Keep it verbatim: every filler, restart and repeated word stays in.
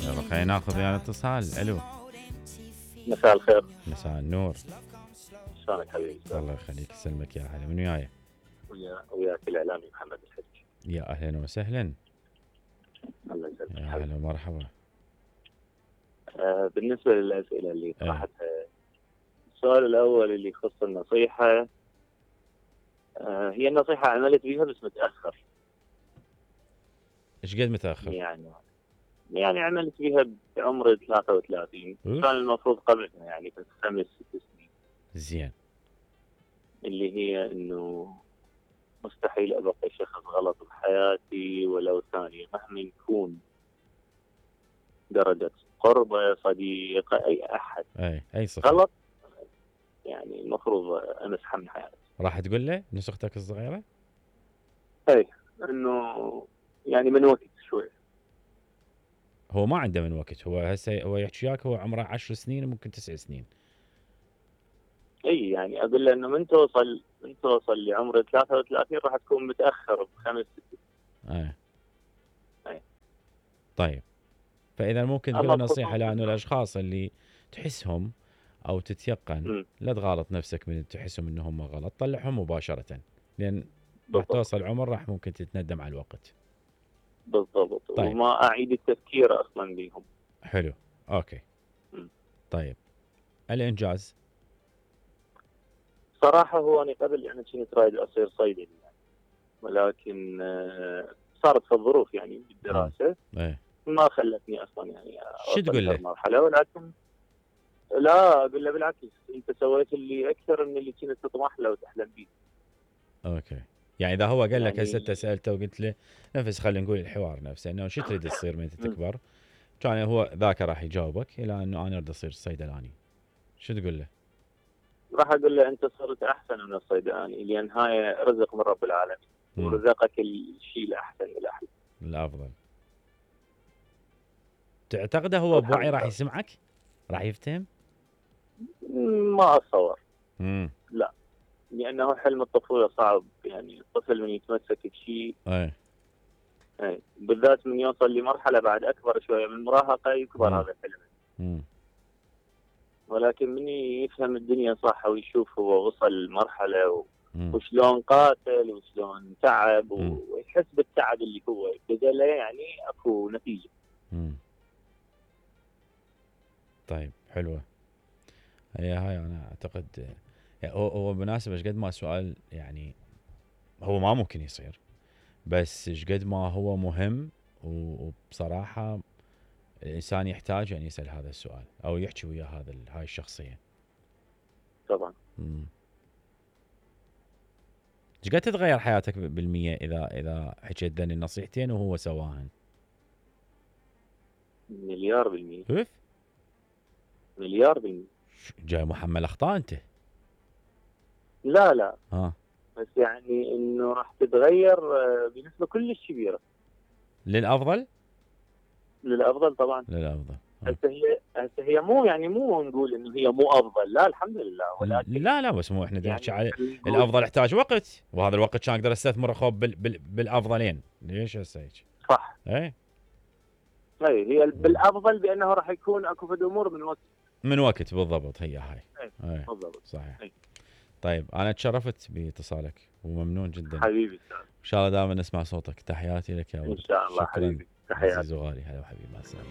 يلا خلينا ناخذ ويانا اتصال. الو مساء الخير. مساء النور. شلونك حبيبي؟ الله يخليك يسلمك يا هلا. من وياي؟ ويا وياك الاعلامي محمد الحج. يا اهلا وسهلا. الله يسلمك. يا هلا ومرحبا. آه بالنسبه للاسئله اللي طرحتها، السؤال الاول اللي يخص النصيحه، آه هي النصيحه عملت بيها بس متاخر. ايش قد متاخر؟ يعني يعني عملت بيها بعمر ثلاثة وثلاثين، كان المفروض قبلها يعني بس خمس ست سنين. زين. اللي هي انه مستحيل ابقى شخص غلط بحياتي ولو ثانيه، مهما يكون درجه قربه صديق اي احد اي اي صفة غلط، يعني المفروض امسحه من حياتي. راح تقول له نفس اختك الصغيره؟ اي انه يعني من وقت شوي. هو ما عنده من وقت، هو هسه هو يحكي وياك هو عمره عشر سنين وممكن تسع سنين. اي يعني اقول له انه من توصل من توصل لعمر ثلاثة وثلاثين راح تكون متاخر بخمس ست. اي اي طيب، فاذا ممكن تقول نصيحه لانه الاشخاص اللي تحسهم او تتيقن م. لا تغالط نفسك من تحسهم انهم غلط، طلعهم مباشره، لان راح توصل عمر راح ممكن تتندم على الوقت. بالضبط. طيب. وما اعيد التفكير اصلا بيهم. حلو اوكي. م. طيب الانجاز صراحه هو انا قبل يعني كنت رايد اصير صيدلي يعني، ولكن صارت في الظروف يعني بالدراسه ايه ما خلتني اصلا يعني شو تقول له؟ مرحله. ولكن لا اقول له بالعكس، انت سويت اللي اكثر من اللي كنت تطمح له وتحلم به. اوكي، يعني اذا هو قال يعني لك هسه انت سالته وقلت له نفس، خلينا نقول الحوار نفسه انه شو تريد تصير من تكبر، كان هو ذاك راح يجاوبك الى انه انا اريد اصير صيدلاني، شو تقول له؟ راح اقول له انت صرت احسن من الصيدلاني، لان هاي رزق من رب العالمين ورزقك الشيء الاحسن الاحلى الافضل. تعتقده هو بوعي راح يسمعك؟ راح يفتهم؟ ما اتصور. امم لا، لانه حلم الطفوله صعب، يعني الطفل من يتمسك بشيء اي اي بالذات من يوصل لمرحله بعد اكبر شويه من المراهقه يكبر هذا الحلم. امم ولكن من يفهم الدنيا صح ويشوف هو وصل لمرحله و... وشلون قاتل وشلون تعب و... ويحس بالتعب اللي هو بذله، يعني اكو نتيجه. امم طيب حلوه هي هاي. انا اعتقد يعني هو هو بالمناسبه ايش قد ما السؤال يعني هو ما ممكن يصير، بس ايش قد ما هو مهم، وبصراحه الانسان يحتاج ان يسال هذا السؤال او يحكي ويا هذا هاي الشخصيه. طبعا. امم ايش قد تتغير حياتك بالمية اذا اذا حكيت ذني النصيحتين وهو سواهن؟ مليار بالمية. كيف؟ مليار بالمية. جاي محمل اخطاء انت؟ لا لا ها بس يعني انه راح تتغير بنسبه كلش كبيره. للافضل؟ للافضل طبعا. للافضل. هسه هي هسه هي مو يعني مو نقول انه هي مو افضل، لا الحمد لله، ولكن لا لا بس مو احنا نحكي يعني على الافضل يحتاج وقت، وهذا الوقت كان اقدر استثمره خوب بال بال بالافضلين. ليش هسه هيك؟ صح. اي اي هي بالافضل بانه راح يكون اكو فد امور من وقت من وقت بالضبط. هي هاي اي بالضبط صحيح. أي. طيب انا تشرفت باتصالك وممنون جدا حبيبي. ان شاء الله دائما نسمع صوتك. تحياتي لك يا ولد. ان شاء الله حبيبي. تحياتي عزيز وغالي. هلا وحبيبي، مع السلامه.